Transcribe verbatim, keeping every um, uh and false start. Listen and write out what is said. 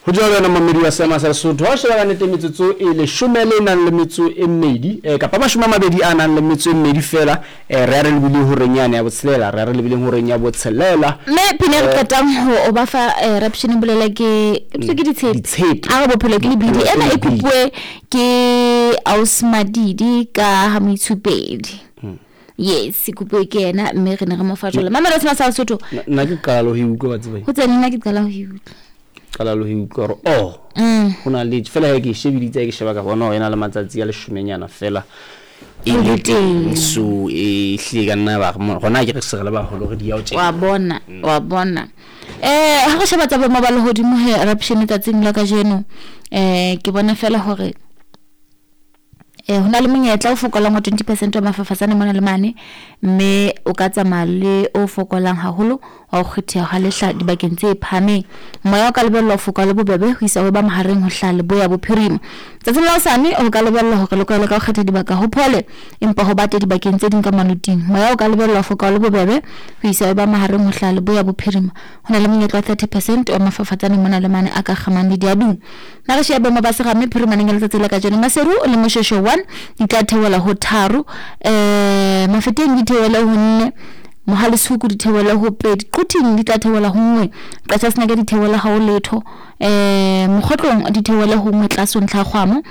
Ho jwalo wena momamedi wa seema sa Lesotho, ha o sheba ka nnete metsotso e leshome le nang le metso e mmedi eh, kapa mashome a mabedi a nang le metso e mmedi fela, eh, re ya re lebile horeng yane ya botshelela, re ya re lebileng horeng ya botshelela. Mme pina e re qetang ho o ba fa eh, raption bolela ke ke ke ditshepe. Ditshepe. A re bophelo ke lebidi. Bophelo ke Ena e lebidi. kopuwe ke Ausmadidi ka ha Moitshupedi. Yes, e kopuwe ke yena, mme re ne re mo fa jwalo. Mamelo sena sa Lesotho. Nna- nna ke qala le ho e utlwa, wa tseba. Ho tsene nna ke qala ho e utlwa. Qala le ho e utlwa hore oh, Mm. ho na le fela he ke e shebiditse, ke sheba ka bona hore e na le matsatsi a leshomenyana fela e E le le teng. teng. So e hlile ka nna ba re mo- gona ke re se re le baholo re di ya ho tjena. Wa bona, wa bona. Eh ha re sheba tsa boemo ba lehodimo he raption tsatsing la kajeno, eh ke bona fela hore eh ho na le monyetla o fokolang wa twenty percent wa mafafatsane mona le mane, mme o ka tsamaya le o fokolang haholo wa ho kgetheha ha lehla dibakeng tse phahameng. Moya o ka lebellwa ho foka le bobebe ho isa ho ba mahareng ho hlaha leboya bophirima. Tsatsing la hosane o ka lebellwa hore le kwaele ka ho kgetha dibaka ho phole, empa ho bate dibakeng tse ding ka maloting. Moya o ka lebellwa ho foka le bobebe ho isa ho ba mahareng ho hlaha leboya bophirima. Ho na le monyetla wa thirty percent wa mafafatsane mona le mane a ka kgamang le diaduma. Na re shebe boemo ba serame phirimaneng ya letsatsi la kajeno. Maseru le Moshweshwe one di tla theohela ho tharo, eh Mafeteng di theohele ho nne, Mohale's Hoek di theohele ho pedi, Quthing di tla theohela ho nngwe, Qacha's Naka di theohele ha ho letho, eh Mokgotlong di theohele ho nngwe tlase ho ntlha ya kgwamo.